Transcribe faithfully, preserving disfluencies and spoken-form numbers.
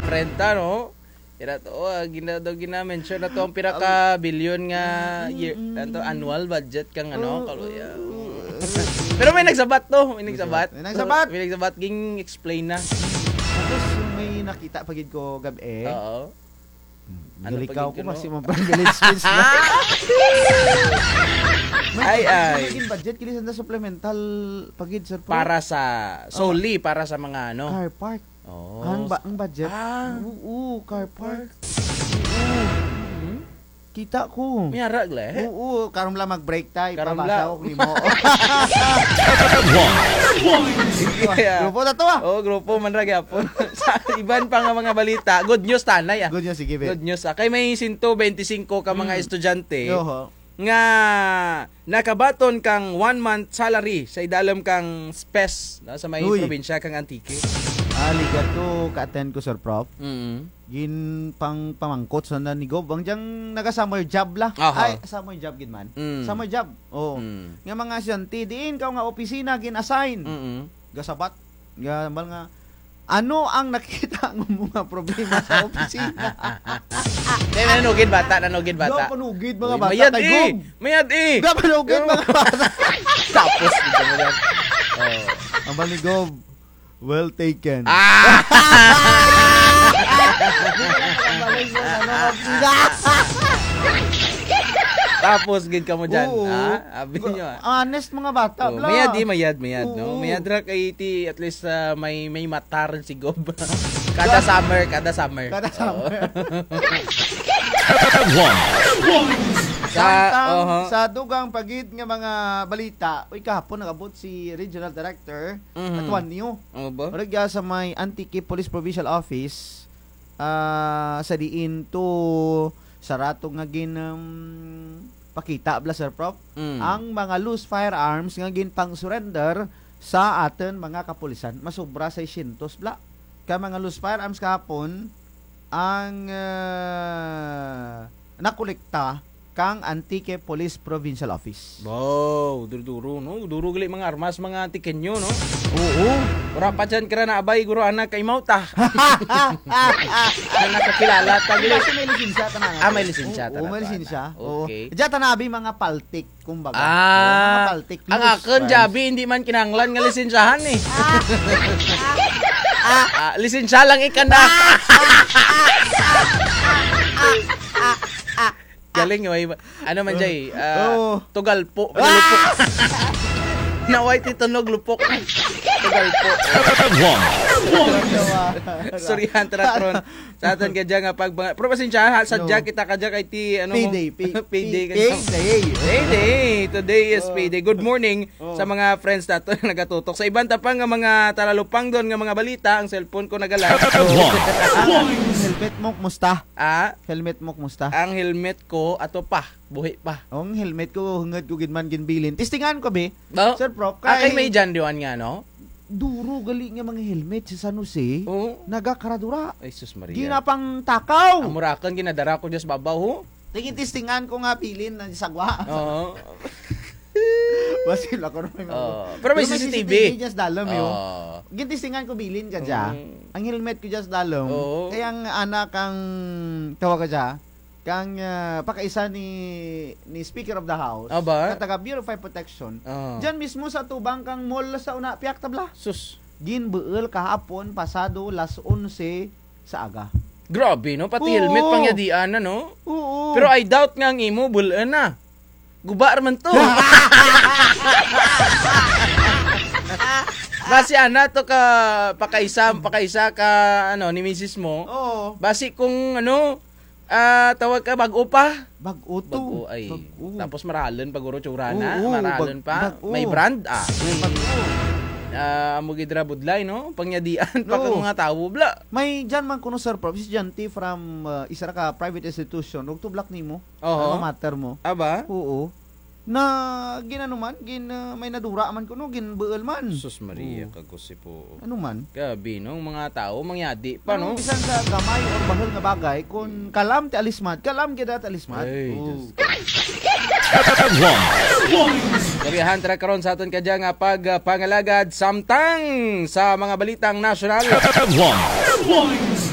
Prenta, no? Ira to, ah, gina-, daw gina-mention na to ang pira ka bilyon nga year, ano to, annual budget kang ano, kaluya. Pero may nagsabat to, may nagsabat. May nagsabat. May nagsabat, ging-explain na. Tapos may nakita pa gid ko gab-i. Oo. Hmm, ano pa gid ko, no? Kasi mo pang village speech na. Ay, ay. May budget, kini sanda supplemental pa gid, sir, pro. Para sa, solely para sa mga ano. Car park. Oh. Ang ba-, ang budget? Ah. Oo, car park. Oo. Hmm? Kita ko. May ara gali? Oo, karon lang mag-break ta, ipabasa ko nimo. Yeah. Grupo na to, ah. Oh, grupo man ra gyapon. Sa iban pa nga mga balita, good news ta anay, ah. Good news, sige, be. Good news, ah. Kay may sento bente singko ka mga estudyante nga nakabaton kang one month salary sa idalom kang SPES, no, sa may probinsya kang Antique. Ah, ligat ko ka-attend ko, Sir Prof. Mm. Ginpangpamangkot sanda ni Gob. Ang dyang naga-summer job la. Aha. Ay, summer job gid man. Mm. Summer job. Oo. Mm. Nga mga estudyante, diin kaw nga opisina gin-assign. Mm. Gasabat. Gambal nga, ano ang nakita mo mga problema sa opisina? Di, nanugid bata, nanugid bata. Daw panugid mga bata kay Gob. Mayad eh. Mayad eh. Daw panugid mga bata. Tapos, dito mo lang. Oh. Ang bali, Gob, well taken. Ah! Tapos, gid ka mo dyan, ha? Abi nyo, ah. Honest mga bata, bla. Mayad eh, mayad, mayad, no? Mayad ra kay ti, at least, ah, may, may mata run si Gob. Kada summer, kada summer. Kada summer. Sa, sa dugang pa gid nga mga balita, uy, kahapon nag-abot si Regional Director Atuanyo. Ano ba? Ora dya sa may Antique Police Provincial Office, ah, sa diin to, sa rato nga gin, um, pakita bla, Sir Prof, ang mga loose firearms nga ginpang-surrender sa atun mga kapulisan, masobra seiscientos bla ka mga loose firearms kahapon ang, ah, nakolekta kang Antique Police Provincial Office. Wow, duro-duro, no? Duro gali mga armas, mga Antiqueño, no? Oo. Wara pa dyan kara naabay, guro, anak, kay mauta. Nakakilala ta gali. Kasi may lisensya ta na. Ah, may lisensya ta na. Oo, may lisensya. Okay. Dyan ta na abi mga paltik, kumbaga. Ah, mga paltik. Ang akun, dyabi, hindi man kinahanglan nga lisensyahan eh. Ah, lisensya lang ikanda. Galing, may, ano man, Jay? Ah, tugalpo. Lupok. Naway ti tunog lupok. Tugalpo. Istoryahan ta ra karon sa atun kadya nga pag-, pero pasensya, ha, sadya kita kadya kay ti, ano mo? Payday, pay-, payday. Payday. Today is payday. Good morning sa mga friends nato nga nagatutok. Sa iban ta pa nga mga taralupangdon nga mga balita, ang cellphone ko nagala. Ang helmet mo, kumusta? Ah? Helmet mo, kumusta? Ang helmet ko, ato pa. Buhi pa. Ang helmet ko, hangod ko gid man ginbilin. Testingan ko, be. Sir Prof, kay may dyan diwan nga, no? Duro gali nga mga helmet sa San Jose. Oo. Nagakaradura. Ay, sus Maria. Ginapangtakaw. Amo ra akun, ginadara ko dyan sa babaw, ho. Tingin testingan ko nga bilin na sagwa. Oo. Basil ako rin. Oo. Pero may C C T V. Pero may C C T V dyan sa dalom, yo. Oo. Gintestingan ko bilin kadya. Mm. Ang helmet ko dyan sa dalom. Oo. Kay ang anak kang tawag kadya, kang, ah, pakaisa ni, ni Speaker of the House, nga taga Bureau of Fire Protection, dyan mismo sa tubang kang mall sa una, piyak tabla. Sus. Ginbuul kahapon, pasado las onse sa aga. Grabe, no? Pati helmet pangyadian na, no? Oo. Pero I doubt nga ang imo, bul-un na. Guba ra man to. Basi ana to ka pakaisa, pakaisa ka, ano, ni misis mo. Oo. Basi kung, ano, ah, tawag ka, bag-o pa. Bag-o to. Bag-o, ay. Bag-o. Tapos maralun pa guro tsura na, maralun pa. May brand, ah. May bag-o. Ah, amo gid ra budlay, no? Pangyadian pa kang mga tawo, bla. May dyan man kuno, Sir Prof, si Janty from, ah, isa ra ka private institution, ug tublak nimo. Oho. Alma mater mo. Aba? Oo. Na gin-ano man, gin, ah, may nadura man kuno, ginbuul man. Sus Maria, kagusip po. Ano man? Grabe, no? Mga tawo, mangyadi pa, no? Bisan sa gamay or bahul nga bagay, kung kalam ti alismat, kalam gid ti alismat. Ay, Diyos ko. Gabihan ta ra karon sa atun kadya nga pag, ah, pangalagad samtang sa mga balitang nasyonal. Headlines.